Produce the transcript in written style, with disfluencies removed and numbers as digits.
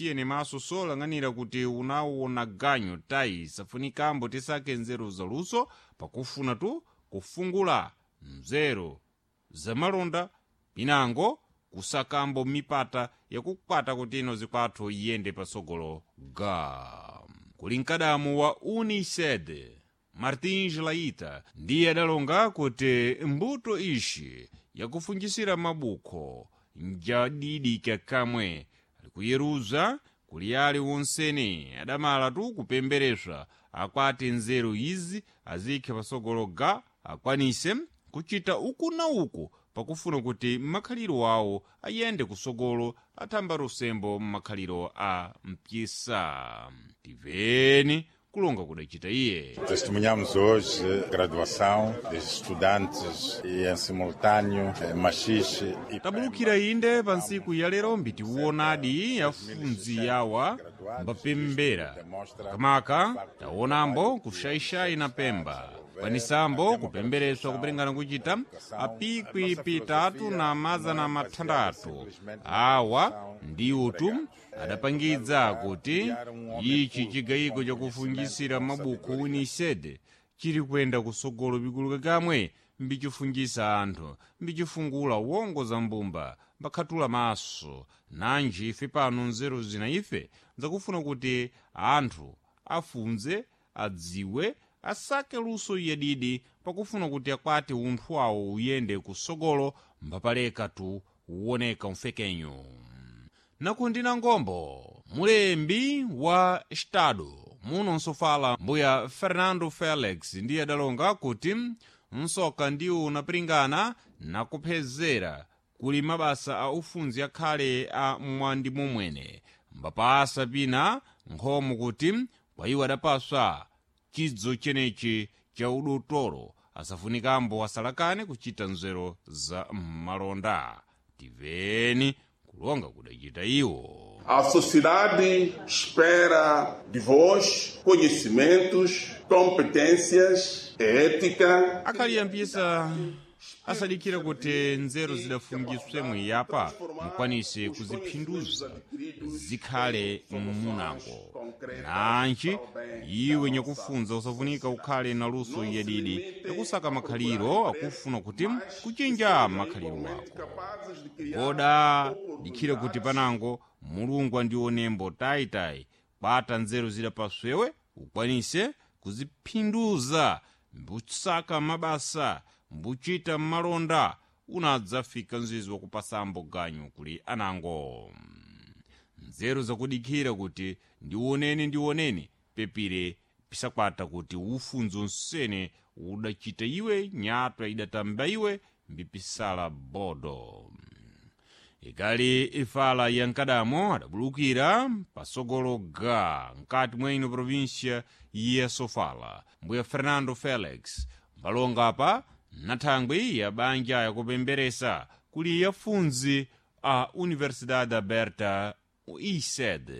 Tiyene maso solang'anira kuti unawona ganyu tayi safunikambo tisake nzeru zaluso pakufuna tu kufungula nzeru zamalonda pinango kusakambo mipata yakukwata kuti ino zikwathu iyende pasogolo ga kuli mkadamu wa uniced Martins Laita ndiye adalonga kuti mbuto ixi yakufungisira mabukho njadidika kamwe alikuyeruza kuli ali wonsene adamala tu kupembereswa akwati nzeru izi azikhe pasogolo ga akwanise kuchita uku na uku pakufuna kuti makhaliro awo ayende kusogolo athamba lusembo m'makhaliro a mpyisa. Tiveni kulonga kudacita iye. Testemunhamos hoje a graduação dos estudantes e, em simultâneo, machixe e Tabulukira inde pa ntsiku ya lero mbitiwonadi yafunzi yawa mbapembera kamaka taonambo kuxaixai na Pemba kwanisambo kupembereswa kupilingana kuchita apikwi pitatu na mazana mathandathu awa ndiwo tu adapangidza kuti ichi chigayiko chakufungisira mabuku uniced chili kuyenda kusogolo pikuluka kamwe mbichifungisa anthu, mbichifungula wongo za mbumba, mbakhatula maso. Nanji ife pano nzeru zina ife zakufuna kuti anthu afunze, adziwe, asake luso yadidi pakufuna kuti akwate unthu wawo uyende kusogolo mbapaleka tu uwoneka mfekenyo. Nakundina ngombo mulembi wa Estado muno nsofala mbuya Fernando Felix ndiye adalonga kuti msoka ndiwo unapiringana nakuphezera kuli mabasa a ufunzi akhale a mwandi momwene mbapasa pina nkhomo kuti kwa iwo adapaswa chidzo chenechi cha udotolo asafunikambo asalakane kuchita nzeru za malonda. Tiveni kulonga kudachita iwo. A sociedade espera de vós conhecimentos, competências, ética. Akhali yampisa asadikira kuti nzeru zidafungiswe mwiyapa mukwanise kuziphinduza zikhale mmunango. Nanji iwe nyakufunza usafunika ukhale na luso yadidi yakusaka makhaliro akufuna kuti kuchinja makhaliro wako. Koda dikhire kuti panango Mulungu andionembo tayitayi kwata nzeru zidapaswewe ukwanise kuziphinduza mbusaka mabasa mbuchita malonda unadzafika mzizi wakupasambo ganyu kuli anango. Nzeru zakudikhira kuti ndioneni ndioneni pepire pisakwata kuti ufunzo nsene udachita iwe nyatwa idatamba iwe mbipisala bodo. Ikali ifala ya nkadamo adabulukira pasogolo ga mkati mwa ino província ya Sofala mbuya Fernando Felix mbalonga apa nathangwi ya banja yakupemberesa kuli yafunzi a Universidade Aberta ISED.